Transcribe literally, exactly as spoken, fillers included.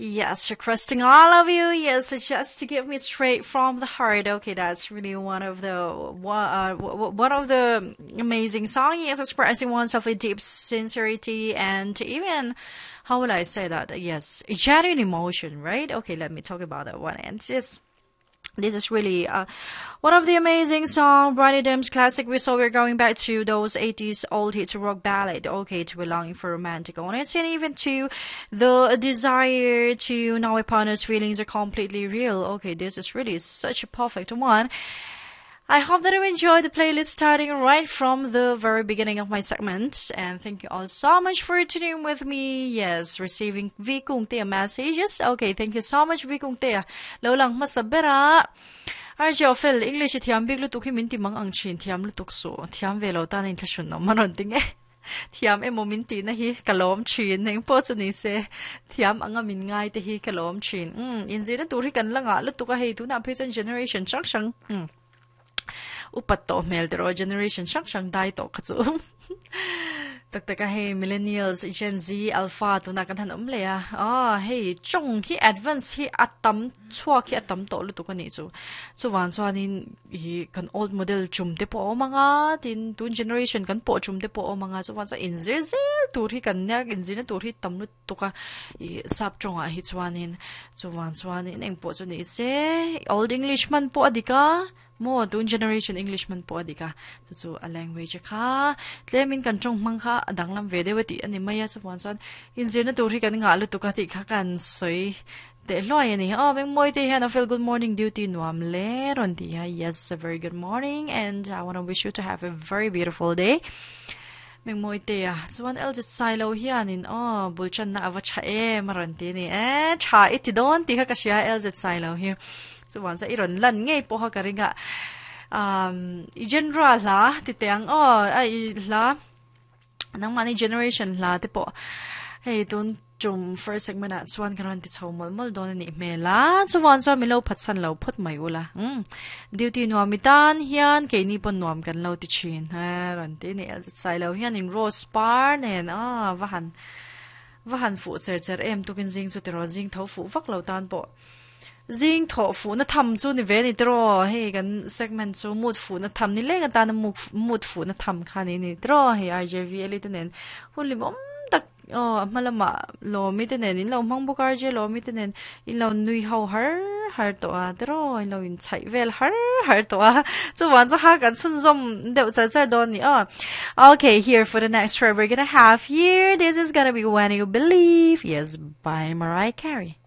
Yes, requesting all of you. Yes, just to give me straight from the heart. Okay, that's really one of the one, uh, one of the amazing song. Yes, expressing oneself with deep sincerity and even how would I say that? Yes, genuine emotion, right? Okay, let me talk about that one. And yes this is really uh, one of the amazing song, Bryan Adams classic. We saw we're going back to those eighties old hits rock ballad. Okay, to belonging for romantic honesty and even to the desire to know a partner's feelings are completely real. Okay, this is really such a perfect one. I hope that you enjoyed the playlist starting right from the very beginning of my segment. And thank you all so much for tuning with me. Yes, receiving V Kungtea messages. Okay, thank you so much V Kungtea. Lo lang masabera. R J Phil English thiam big lutuk hi min ti mang ang chin thiam lutuk so thiam velo ta nin thashun no maron ting e thiam emo min ti na hi kalom chin neng po chu ni se thiam anga min ngai te hi kalom chin um in zira tur hi kan langa lutuk a hei tu na phe chan generation chang chang um upat to mel tero generation sang sang dai to kha chu tak taka hei millennials, Gen Z, Alpha tu na kan han um le a ah hei chong hi advance hi atam chuak hi atam to lu tu ka ni chu chu wan chuanin hi kan old model chum te po manga tin tun generation kan po chum te po manga chu wan cha in zir zel tur hi kan nya in zir na tur hi tam lu tu ka i sap chonga hi chuanin chu wan chuanin eng po chu ni se old English man po adika mo tun generation English man po adika chu chu a language kha tlemin kan tong mang kha adang lam ve dewati ani maya chu wan chuan in zir na tur hi kan nga lu tu ka ti kha kan soi te loi ani oh meng moi te hian a feel good morning, duty nuam le ron ti ha. Yes, a very good morning, and I want to wish you to have a very beautiful day, meng moi te a. Chuan el je sai lo hianin oh bulchan na awa cha e maron ti ni e cha iti don ti kha ka sia el je sai lo hi chuan cha iron lan ngei po ha ka ringa um i general la ti teang oh ai la nang mani generation la te po hei tun chum first segment a chuan kan ti chho mol mol don ani mela chuan chuan milo phatsan lo phot mai ula um duty nuam mi tan hian ke ni pon nuam kan lo ti chin ha ran ti ni el sai lo hian in rose par nen a va han va han fu cher cher em tukin jing chu te ro jing tho fu vak lo tan po jing tho fu na tham chu ni ve ni tro hei kan segment chu mood fu na tham ni le kan tan mood fu na tham kha ni ni tro hei R J V eli te nen hun limom tak oh malama lo mi te nen in lo mang bukar je lo mi te nen in lo nui ho har har to a tro in lo in chai vel har har to a chu wan chu ha kan chun zom deuh char char don ni oh. Okay, here for the next track we're gonna have here, this is gonna be "When You Believe", yes, by Mariah Carey.